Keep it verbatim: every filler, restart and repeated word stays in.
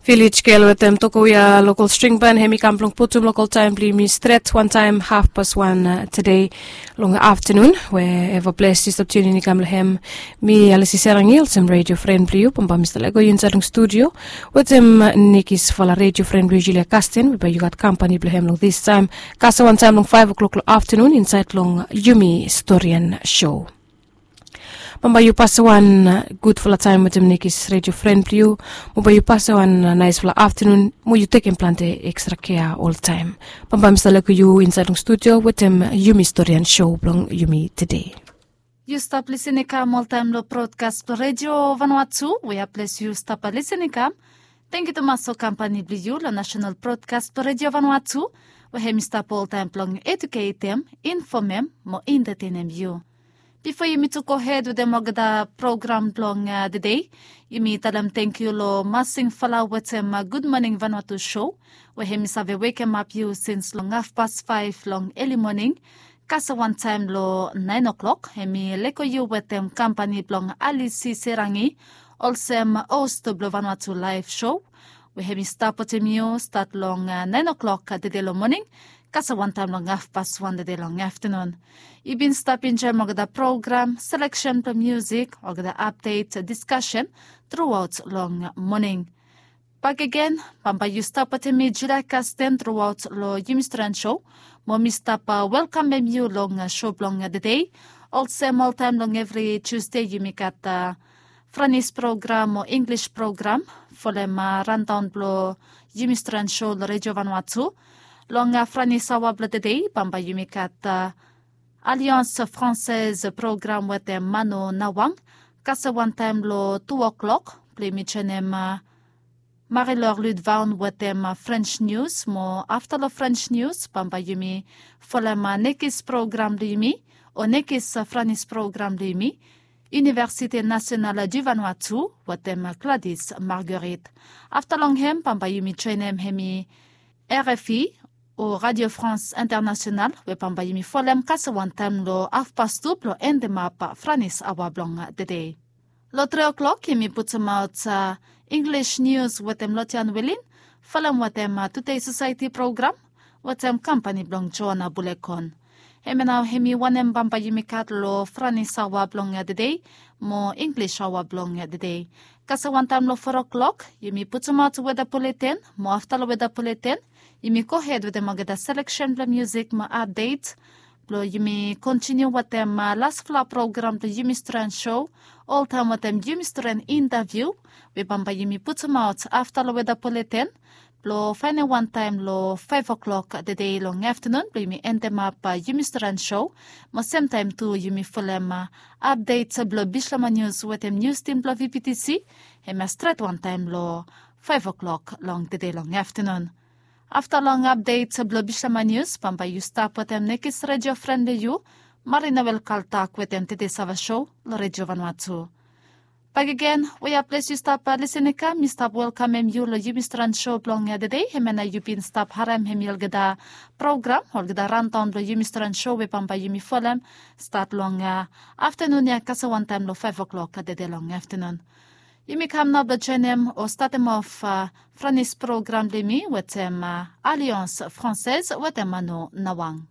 Vilis gel wetem tokowia lokol string ban hem i kam blong putum lokol taem blong yumi stret wantaem hafpas wan tede long aftenun we eva ples yu stap tiunin i kam long hem. Mi alisi serangil sem redio fren blong yu bamba mi stap lego yu insaed long studio wetem nikisfala redio fren blong yu julia kastin we bae yu gat kampani blong hem long distaem kasa wantaem long faef oklok long aftenun insaed long yumi storian sho. Bamba yu pasa wan gudfala taem wetem nikis redio fren blong yu. Mo bae yu pasa wan naesfala aftenun mo yu tekem plante ekstra kea oltaem. Bamba mi stap lego yu insaed long studio wetem yumi storian sho blong yumi tede. Yu stap lisin i kam oltaem long brodkas blong redio vanua tu we ya ples yu stap lisin i kam. Tengiu tumas long kampani blong yu long nasenal brodkas blong redio vanua tu we hem i stap oltaem blong eduketem, infomem mo entatenem yu. Bifo yumi tu gohed wetem olgeta program blong tede, yumi talem tengiu long masingfala wetem gudmoning vanua tu sho we hem i save wekemap yu sins long hafpas faef long eli moning kasa wantaem long naen oklok hem i lego yu wetem kampani blong alisi serangi olsem osto blong vanua tu laef sho we hem i stap wetem yu stat long naen oklok tede long moning kasa wantaem long hafpas wan tede long aftenun. Yu bin stap enjoem olgeta program seleksen blong musik olgeta apdet diskasen truaot long moning. Bakegen bamba yu stap wetem mi julia kasten truaot long yumi stren sho mo mi stap welkamem yu long sho blong tede. Olsem oltaem long evri tusde yumi gat franis program o inglis program folem randaon blong yumi stren sho long redio vanua tu. Long franis aoa blong tede bamba yumi gat alians franses program wetem mano nawang kase wantaem long tu oklok blong yumi joenem marilor ludvaon wetem frens nius mo afta long frens nius bamba yumi folem nekis program blong yumi o nekis franis program blong yumi universite nasional du vanua tu wetem gladis marguerite. Afta long hem bamba yumi joenem hem i rfi o radio france internasional we bamba yumi folem kase wantaem long afpas tu blong endemap franis aoa blong tede. Long tri oklok yumi putumaot inglis nius wetem lotian wilin folem wetem tudei sosaeti program wetem kampani blong joana bulekon. Hemia nao hem i wanem bamba yumi gat long franis aoa blong tede mo inglis aoa blong tede. Kase wantaem long fo oklok yumi putumaot weda puleten mo afta long weda puleten yumi gohed wetem olgeta seleksen blong musik mo apdet blong yumi kontiniu wetem lasfala program blong yumi stren sho oltaem wetem yumi stren intaviu we bamba yumi putumaot afta long weda puleten blong faenem wantaem long faef oklok tede long aftenun blong yumi endemap yumi stren sho mo semtaem tu yumi folem apdet blong bislama nius wetem nius tim blong vptc hemia stret wantaem long faef oklok long tede long aftenun. Afta long apdet blong bislama nius bamba yu stap wetem nekis redio fren blong yu marina welkaltak wetem tede sava sho long redio vanua tu. Bakegen we ya ples yu stap lisin i kam mi stap welkamem yu long yumi stren sho blong tede hemia nao yu bin stap harem hem i olgeta program olgeta randaon blong yumi stren sho we bamba yumi folem stat long aftenun ya kase wantaem long faef oklok tede long aftenun. Yumi kam nao blong joenem o statem of franis program blong yumi wetem alians franses wetem mano nawang.